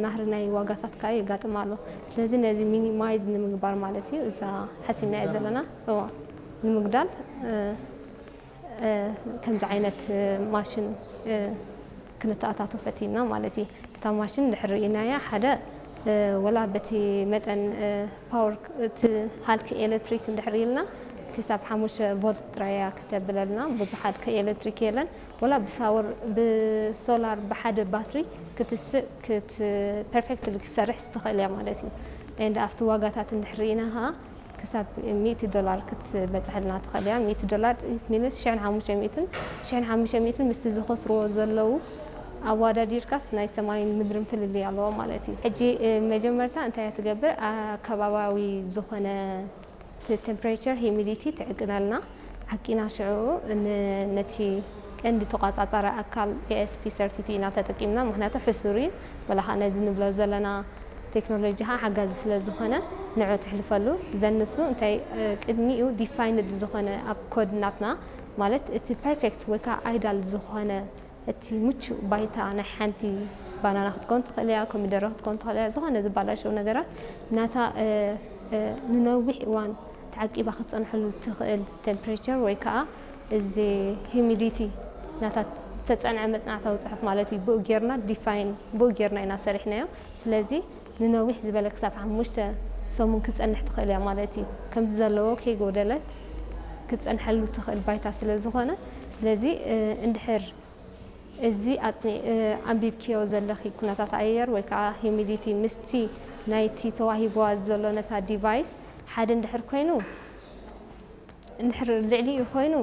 ናህሪ ናይ ዋጋታት ከዓ የጋጥም ኣሎ። ስለዚ ነዚ ሚኒማይዝ ንምግባር ማለት እዩ እዛ ሓሲብናዮ ዘለና እዋ ንምግዳል ከምዚ ዓይነት ማሽን ክንተኣታቶ ፈቲና ማለት እዩ። እታ ማሽን ድሕር ርኢናያ ሓደ ወላ በቲ መጠን ፓወር እቲ ሃልኪ ኤሌክትሪክ እንድሕር ኢልና ክሳብ ሓሙሽተ ቮልት ጥራያ ክተብለልና ብዙሕ ሃልኪ ኤሌክትሪክ የለን። ወላ ብሳወር ብሶላር ብሓደ ባትሪ ክትስእ ክት ፐርፌክትሊ ክትሰርሕ ትኽእል እያ ማለት እዩ። And ኣብቲ ዋጋታት እንድሕር ርኢና ከዓ ክሳብ ሚእቲ ዶላር ክትበፅሐልና ትኽእል እያ። ሚእቲ ዶላር ሚንስ ሽሕን ሓሙሽተ ሚእትን ሽሕን ሓሙሽተ ሚእትን ምስቲ ዝኸስርዎ ዘለዉ ኣዋዳዲርካስ ናይ ሰማይን ምድርን ፍልልይ ኣለዎ ማለት እዩ። ሕጂ መጀመርታ እንታይ እያ ትገብር? ኣከባባዊ ዝኾነ እቲ ቴምፕሬቸር ሂሚዲቲ ትዕቅነልና። ዓቂና ሽዑ ነቲ ቀንዲ ተቋፃፃሪ ኣካል ኤኤስፒ ሰርቲቱ ኢና ተጠቂምና። ምክንያቱ ሕሱር እዩ። ወላ ከዓ ነዚ ንብሎ ዘለና ቴክኖሎጂ ከዓ ሓጋዚ ስለ ዝኾነ ንዑ ትሕልፈሉ። ዘንሱ እንታይ ቅድሚኡ ዲፋይንድ ዝኾነ ኣብ ኮድ ናትና ማለት እቲ ፐርፌክት ወይ ከዓ ኣይዳል ዝኾነ እቲ ምቹእ ባይታ ናይ ሓንቲ ባናና ክትኮን ትኽእል እያ፣ ኮሚደረ ክትኮን ትኽእል እያ፣ ዝኾነ ዝባላሸው ነገራት ናታ ንነዊሕ እዋን ተዓቂባ ክትፀንሐሉ ትኽእል ቴምፕሬቸር ወይ ከዓ እዚ ሂሚዲቲ ናታ ዝተፀንዐ መፅናዕታዊ ፅሑፍ ማለት እዩ። ብኡ ጌርና ዲፋይን ብኡ ጌርና ኢና ሰሪሕናዮ። ስለዚ ንነዊሕ ዝበለ ክሳብ ሓሙሽተ ሰሙን ክትፀንሕ ትኽእል እያ ማለት እዩ። ከምዚ ዘለዎ ከይጎደለት ክትፀንሐሉ ትኽእል ባይታ ስለ ዝኾነ ስለዚ እንድሕር እዚ ኣንቢብክዮ ዘለኺ ኩነታት ኣየር ወይ ከዓ ሂሚዲቲ ምስቲ ናይቲ ተዋሂብዋ ዘሎ ነታ ዲቫይስ ሓደ እንድሕር ኮይኑ እንድሕር ልዕሊኡ ኮይኑ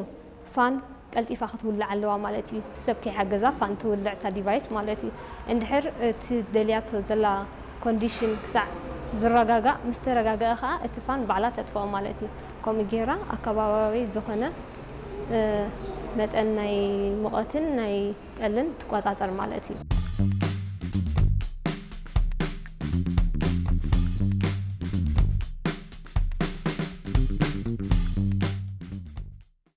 ፋን ቀልጢፋ ክትውልዕ ኣለዋ ማለት እዩ። ሰብ ከይሓገዛ ፋን ትውልዕ እታ ዲቫይስ ማለት እዩ። እንድሕር እቲ ደልያቶ ዘላ ኮንዲሽን ክሳዕ ዝረጋጋእ ምስ ተረጋገአ ከዓ እቲ ፋን ባዕላ ተጥፍኦ ማለት እዩ። ከምኡ ጌራ ኣከባባዊ ዝኾነ መጠን ናይ ሙቐትን ናይ ጠልን ትቆፃፀር ማለት እዩ።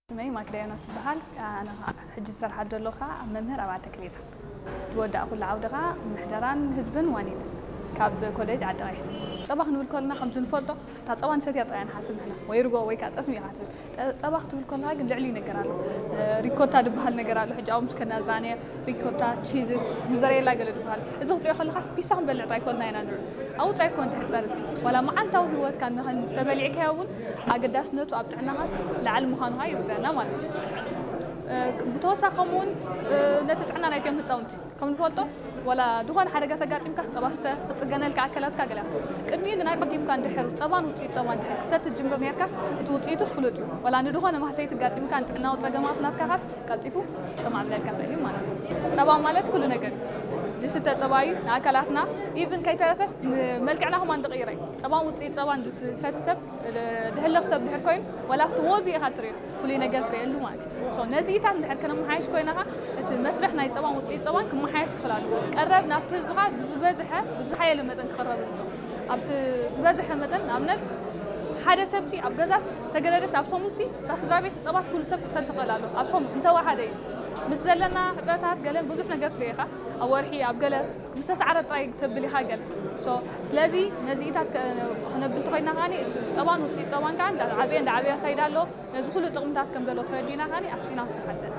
ስመይ ማክዳ ዮናስ ይበሃል። ኣነ ሕጂ ዝሰርሓ ዘለኹ ከዓ መምህር ኣብ ኣተክሌዛ ዝወዳእኩሉ ዓውዲ ከዓ ምሕደራን ህዝብን ዋኒን ካብ ኮሌጅ ዓዲ ቀይሕ። ፀባ ክንብል ከለና ከምዚ ንፈልጦ እታ ፀባ ንሰትያ ጥራይ ንሓስብ ንሕና ወይ ርጎ ወይ ከዓ ጠስሚ ኢኻ ትብል። ፀባ ክትብል ከለካ ግን ልዕሊ ነገር ኣሎ። ሪኮታ ዝበሃል ነገር ኣሎ። ሕጂ ኣብኡ ምስ ከድና ዝረኣናዮ ሪኮታ፣ ቺዝስ፣ ሙዘሬላ ገለ ዝበሃል። እዚ ክትሪኦ ከለካስ ፒሳ ክንበልዕ ጥራይ ኮልና ኢና ንርኢ። ኣብኡ ጥራይ ኮን ትሕፀር እቲ ዋላ መዓልታዊ ህይወትካ ንኸን ተበሊዕካዮ እውን ኣገዳስነቱ ኣብ ጥዕናኻስ ላዕሊ ምዃኑ ከዓ ይርደኣና ማለት እዩ። ብተወሳኺ ከምኡ እውን ነቲ ጥዕና ናይቶም ህፃውንቲ ከም ንፈልጦ ዋላ ዝኾነ ሓደጋ ተጋጢምካስ ጸባ ስተ፣ ክጽገነልካ ኣካላትካ ገለ ኣፍቶ። ቅድሚኡ ግን ኣቀዲምካ እንድሕር ጸባን ውጽኢት ጸባን እንድሕር ክሰቲ ትጅምር ኔርካስ እቲ ውጽኢቱስ ፍሉጥ እዩ። ዋላ ንድኾነ ማህሰይቲ ኣጋጢምካ ንጥዕናዊ ጸገማት ናትካ ካስ ቀልጢፉ ጥማዕ ብለልካ ይኽእል እዩ ማለት እዩ። ጸባ ማለት ኩሉ ነገር እዩ። ዝስተ ጸባ እዩ ንኣካላትና ኢቭን ከይተረፈስ ንመልክዕና ከማን ዝቕይር እዩ። ጸባን ውጽኢት ጸባን ዝሰቲ ሰብ ዝሕለኽ ሰብ እንድሕር ኮይኑ ዋላ ኣብቲ ወዙ ኢኻ ትርእዮ። ፍሉይ ነገር ትርእየሉ ማለት እዩ። So ነዚኢታት እንድሕር ከነመሓየሽ ኮይና ኸዓ እቲ መስርሕ ናይ ፀባን ውፅኢት ፀባን ክመሓየሽ ክኽእል ኣለዎ። ቀረብ ናብቲ ህዝቢ ኸዓ ብዝበዝሐ ብዝሓየለ መጠን ክቕረብ ኣለዎ። ኣብቲ ዝበዝሐ መጠን ንኣብነት ሓደ ሰብሲ ኣብ ገዛስ ተገደደስ ኣብ ሰሙንሲ እታ ስድራ ቤት ፀባስ ኩሉ ሰብ ክሰቲ ክኽእል ኣለዎ። ኣብ ሰሙን እንተወሓደ እዩ። ምስ ዘለና ሕፅረታት ገለን ብዙሕ ነገር ትርኢ ኢኻ። ኣብ ወርሒ ኣብ ገለ ምስ ተሳዕረ ጥራይ ተብል ኢኻ ገለ። So ስለዚ ነዚኢታት ከ- ክነብል እንተኾይና ኸዓ እቲ ፀባን ውፅኢት ፀባን ከዓ እንዳዓበየ እንዳዓበየ ክኸይድ ኣለዎ። ነዚ ኩሉ ጥቕምታት ከም ዘሎ ተረዲእና ከኣ ኣስፊሕና ክንሰርሓ ኣለና።